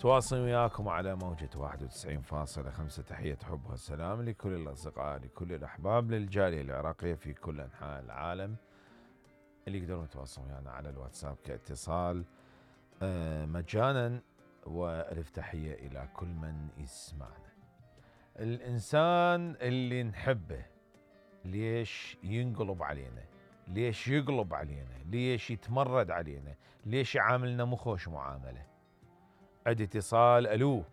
متواصل وياكم على موجة 91.5. تحية حب والسلام لكل الأصدقاء، لكل الأحباب، للجالية العراقية في كل أنحاء العالم اللي يقدرون يتواصلون ويانا على الواتساب كاتصال مجانا. وألف تحية إلى كل من يسمعنا. الإنسان اللي نحبه ليش ينقلب علينا؟ ليش يقلب علينا؟ ليش يتمرد علينا؟ ليش يعاملنا مخوش معاملة؟ عندي اتصال. ألو،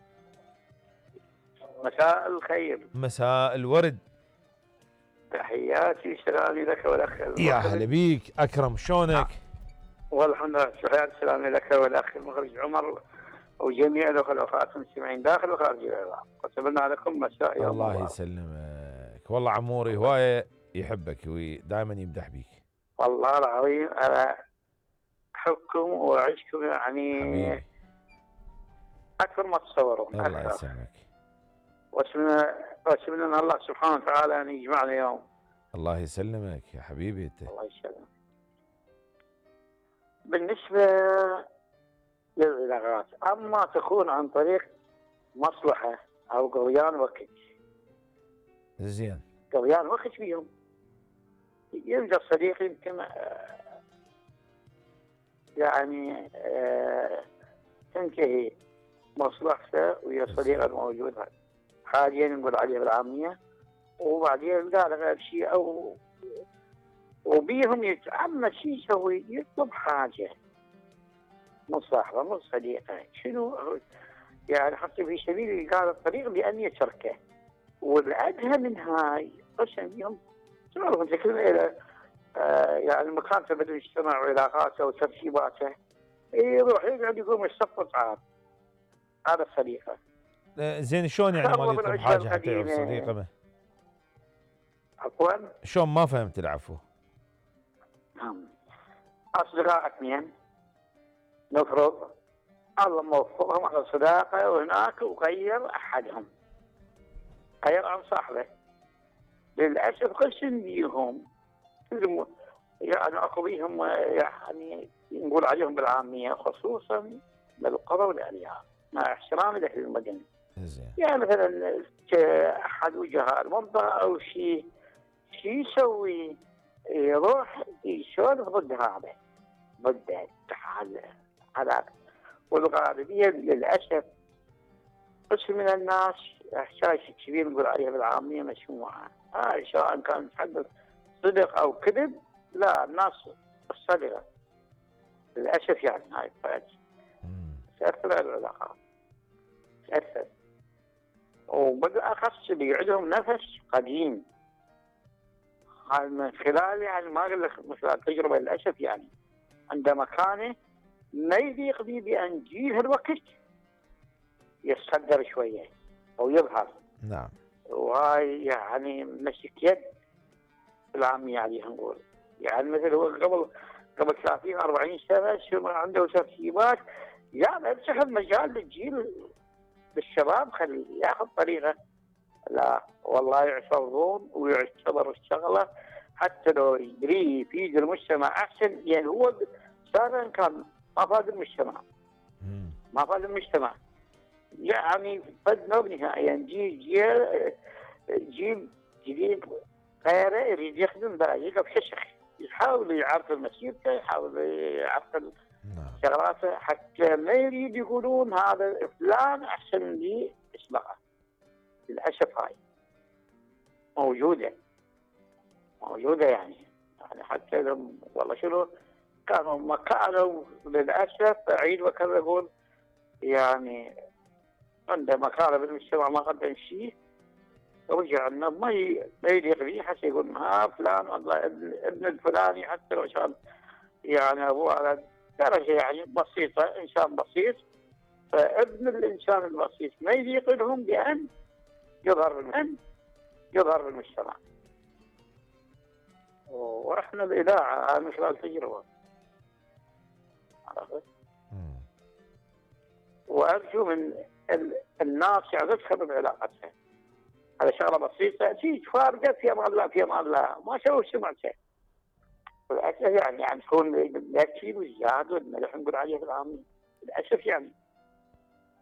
مساء الخير. مساء الورد. تحياتي سلامي لك والأخ. يا هلا بيك أكرم، شلونك؟ والحمد لله، تحياتي سلامي لك والأخ المخرج عمر وجميع الأخوات المستمعين داخل وخارج العراق، وسبلنا لكم مساء يوم الله يسلمك. والله عموري هواية يحبك ودائما يمدح بيك. والله العظيم أنا أحبكم وأعيشكم يعني حبيبي. أكثر ما تصورون. الله يسلمك. وأتمنى الله سبحانه وتعالى أن يجمعنا يوم. الله يسلمك يا حبيبي أنت. الله يسلمك. بالنسبة للعلاقات، أما تكون عن طريق مصلحة أو قضيان وقت، زين، قضيان وقت فيهم يلقى الصديق يمكن يعني تنتهي مصلحته ويا الصديق الموجود حاليا نقول عليه بالعامية، وبعدين يلقى له غير شيء أو وبيهم يتعمد شيء يسوي، يطلب حاجة من صاحبه من صديقه شنو يعني حتى في سبيل إيقاع الطريق بأن يتركه. والأدهى من هاي قسم بيهم تعرف أنت كلمة إلى يعني مكاتبة المجتمع وعلاقاته وترتيباته، يروح يقعد يقوم يصفط طعام هذا صديقه. زين شلون يعني ما يطلب حاجة حتى يعرف صديقه؟ عفوا شلون؟ ما فهمت العفو. أصدقاء اثنين نفرض الله موفقهم على صداقة وهناك وغير أحدهم، غير عن صاحبه. للأسف قسم بيهم يعني أخو بيهم يعني نقول عليهم بالعامية خصوصا بالقرى والأرياف مع احترامي لأهل المدن. يعني مثلا أحد وجهاء المنطقة أو شيء يسوي، يروح يسولف ضد هذا ضد هذا. والغالبية للأسف قسم من الناس إحساس كبير نقول عليها بالعامية مسموعة، سواء كان يتحدث صدق أو كذب، لا الناس الصدقة للأسف يعني هاي تأثر على العلاقات، تأثر. وبالأخص اللي عندهم نفس قديم، هاي من خلال يعني ما أقول لك مثل التجربة للأسف يعني عندما كان ما يليق به بأن جيه الوقت يتصدر شوية أو يظهر. نعم. وهاي يعني مسك يد العامية عليها نقول، يعني مثل هو قبل 30-40 سنة شو عنده ترتيبات، يعني اتسحب مجال للجيل للشباب خليه ياخذ طريقه. لا والله يعترضون ويعتبر الشغله حتى لو يدري يفيد المجتمع احسن، يعني هو صار كان ما فاد المجتمع، ما فاد المجتمع يعني فدنا بنهائيا. جيل جديد غيره يريد يخدم يقف ششخ، يحاول يعرف مسيرته، يحاول يعرف شغلاته، حتى ما يريد يقولون هذا فلان احسن لي اسبقه. للاسف هاي موجوده يعني حتى لو والله شنو كانوا ما كانوا للاسف اعيد واكرر اقول يعني عنده مكانه بالمجتمع ما قدم شيء، رجع انه ما يليق به حتى يقول ها فلان والله ابن الفلاني، حتى لو كان يعني ابوه على درجه يعني بسيطه، انسان بسيط، فابن الانسان البسيط ما يليق لهم بان يظهر بالمجتمع. واحنا الاذاعه من خلال تجربه عرفت، وارجو من الناس يعني تخرب علاقتها على شغله بسيطه تيجي فارقه في امان الله في امان الله ما سووا سمعته. للاسف يعني تكون الاكل والزاد والملح نقول عليه بالعامي للاسف يعني